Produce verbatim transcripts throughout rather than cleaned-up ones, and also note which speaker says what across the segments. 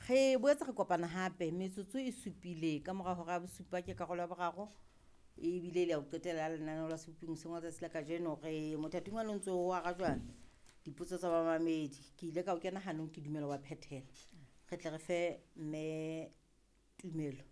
Speaker 1: Re boetse re kopana hape metsotso e supile ka mora hora ya bosupa ke karolo ya boraro ebile le ya ho qetela lenaneo la seboping hoseng wa tsatsi la kajeno. Re mothating wa o ntso o arajwa dipotso tsa bamamedi. Ke ile ka o kena hanong ke dumela wa phethela. Re tle re fe mme Tumelo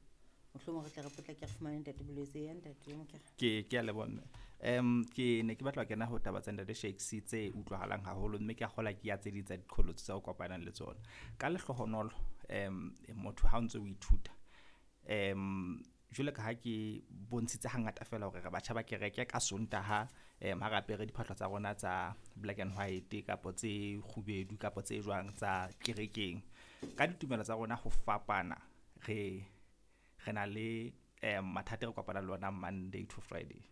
Speaker 1: mohlomong re tle re potlake re fumane ntate Bolwetse ya ntate Mokere.
Speaker 2: Ke ke a leboha mme. Um ke ne ke batla ho kena ho taba tsa ntate Shakes tse utlwahalang haholo mme ke a kgolwa ke ya tse ding tsa diqholotso tsa o kopanang le tsona. Ka lehlohonolo um motho ha o ntso o ithuta um jwalo ka ha ke bontshitse hangata fela hore re batjha ba kereke ka Sontaha um ha re apere diphahlo tsa rona tsa black and white kapa tse kgubedu kapa tse jwang tsa kerekeng. Ka ditumelo tsa rona ho fapana re re na le um mathata e re kopanang le ona Monday to Friday.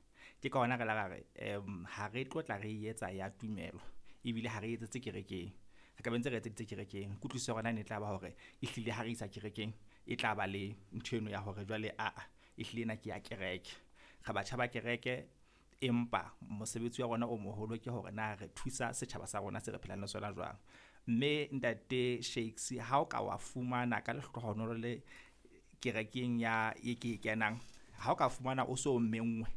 Speaker 2: Ke ka hona re la ra re um ha re tlo tla re etsa ya tumelo ebile ha re etsetse kerekeng. Re ka be ntse re etseditse kerekeng. Kutlwisiso ya rona ne e tla ba hore ehlile ha re isa kerekeng e tla ba le ntho eno ya hore jwale aa ehlile ena ke ya kereke. Re batjha ba kereke empa mosebetsi wa rona o moholo ke hore na re thusa setjhaba sa rona se re phelang le sona jwang. Mme ntate Shakes ha o ka wa fumana ka lehlohonolo le kerekeng ya e ke e kenang, ha o ka fumana o so menngwe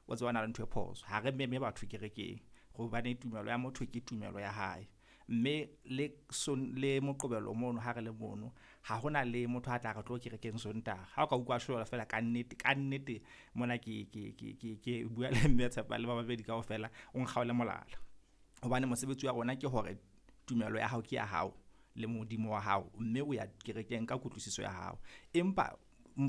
Speaker 2: o tseba na le ntho e phoso. Ha re meme batho kerekeng hobane tumelo ya motho ke tumelo ya hae. Mme le son le Moqebelo mono ha re le mono ha hona le motho a tla re tlo kerekeng Sontaha. Ha o ka utlwa shwela fela ka nnete ka nnete mona ke ke ke ke ke bua le mme Tshepa le ba babedi kaofela o nkgaole molala. Hobane mosebetsi wa rona ke hore tumelo ya hao ke ya hao le Modimo wa hao mme o ya kerekeng ka kutlwisiso ya hao. Empa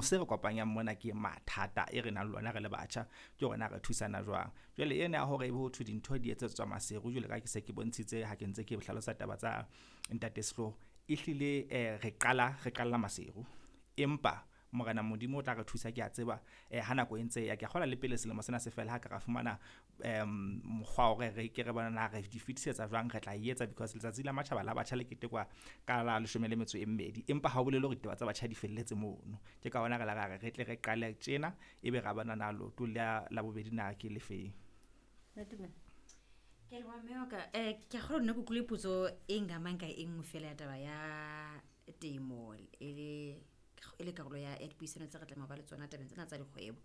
Speaker 2: se re kopanyang mona ke mathata e re nang le ona re le batjha ke hore na re thusana jwang. Jwale ena ya hore ebe ho thwe dintho di etsetswa Maseru jwalo ka ha ke se ke bontshitse ha ke ntse ke hlalosa taba tsa ntate Sehloho. Ehlile eh re qala re qalla Maseru empa Morena Modimo o tla re thusa ke a tseba eh ha nako e ntse ya ke a kgolwa le pele selemo sena se fela ha ka ra fumana um mokgwa wa hore re ke re bona na re di fetisetsa jwang re tla e etsa because letsatsi la matjhaba la batjha le ketekwa ka la leshome le metso e mmedi empa ha o bolele hore ditaba tsa batjha di felletse mono. Ke ka hona re la ra re re tle re qale tjena ebe ra bona na leoto la la bobedi na ke le feng.
Speaker 1: Mme Tumelo.
Speaker 3: Ke a leboha mme wa ka. Eh, ke a kgolwa nna ke utlwile potso e ngamang ka e nngwe fela ya taba ya temo e le e le karolo ya ya dipuisano tse re tlameha ho ba le tsona tabeng tsena tsa dikgwebo.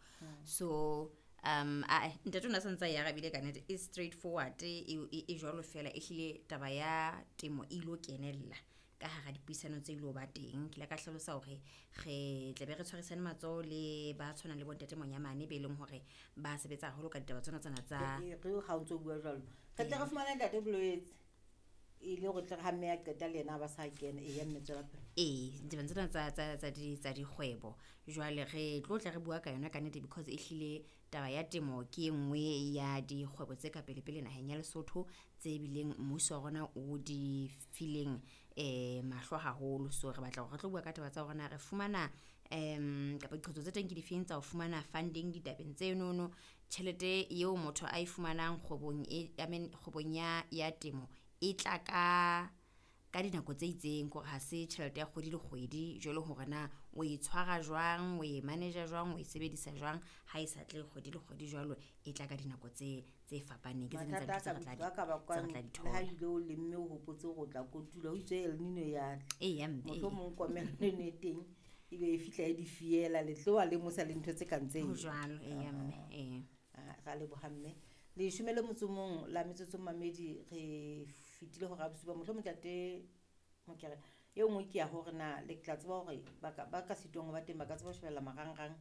Speaker 3: So um ae ntate o na santse a e arabile ka nnete e straight forward e e e jwalo fela ehlile taba ya temo e ilo kenella ka hara dipuisano tse ilo ba teng. Ke ile ka hlalosa hore re tlabe re tshwarisane matsoho le ba tshwanang le bo ntate Monyamane be leng hore ba sebetsa haholo ka ditaba tsona tsena tsa
Speaker 1: E re ha o ntso bua jwalo. Re tle re fumane ntate Bolwetse e le hore tle re ha mme a qeta le yena a ba sa kena. Eya mme tswela pele.
Speaker 3: Ee, ditabeng tsena tsa tsa tsa di tsa dikgwebo. Jwale re tlo tla re bua ka yona ka nnete because ehlile taba ya temo ke e nngwe ya dikgwebo tse ka pele pele naheng ya Lesotho tse bileng mmuso wa rona o di fileng eh mahlo haholo. So re batla hore re tlo bua ka taba tsa hore na re fumana um kapa diqholotso tse teng ke difeng tsa ho fumana funding ditabeng tsenono. Tjhelete eo motho a e fumanang kgwebong e I mean kgwebong ya ya temo e tla ka ka dinako tse itseng kore ha se tjhelete ya kgwedi le kgwedi jwalo hore na o e tshwara jwang, o e manage-a jwang, o e sebedisa jwang ha e sa tle kgwedi le kgwedi jwalo e tla ka dinako tse tse fapaneng. Ke tse ding tsa
Speaker 1: Mathata
Speaker 3: dintho
Speaker 1: a
Speaker 3: tse
Speaker 1: ka
Speaker 3: re tla
Speaker 1: a ka
Speaker 3: di tse
Speaker 1: bakwang
Speaker 3: re tla di
Speaker 1: le ha
Speaker 3: thola.
Speaker 1: ebile o lemme o hopotse hore o tla kotula ho itswe El Nino ya tla.
Speaker 3: Eya mme ee.
Speaker 1: Mohlomong komello eno e teng ebe e fihla e di fiela le tloha le mosa le ntho tse kang
Speaker 3: Ho
Speaker 1: tseo.
Speaker 3: jwalo eya mme ee.
Speaker 1: Ah, ra leboha mme. Leshome le motso o mong la metsotso mamedi re fetile hora ya bosupa. Mohlomong ntate Mokere e nngwe ke ya hore na le tla tseba hore ba ka ba ka sitwang ho ba teng ba ka tseba ho shebella marangrang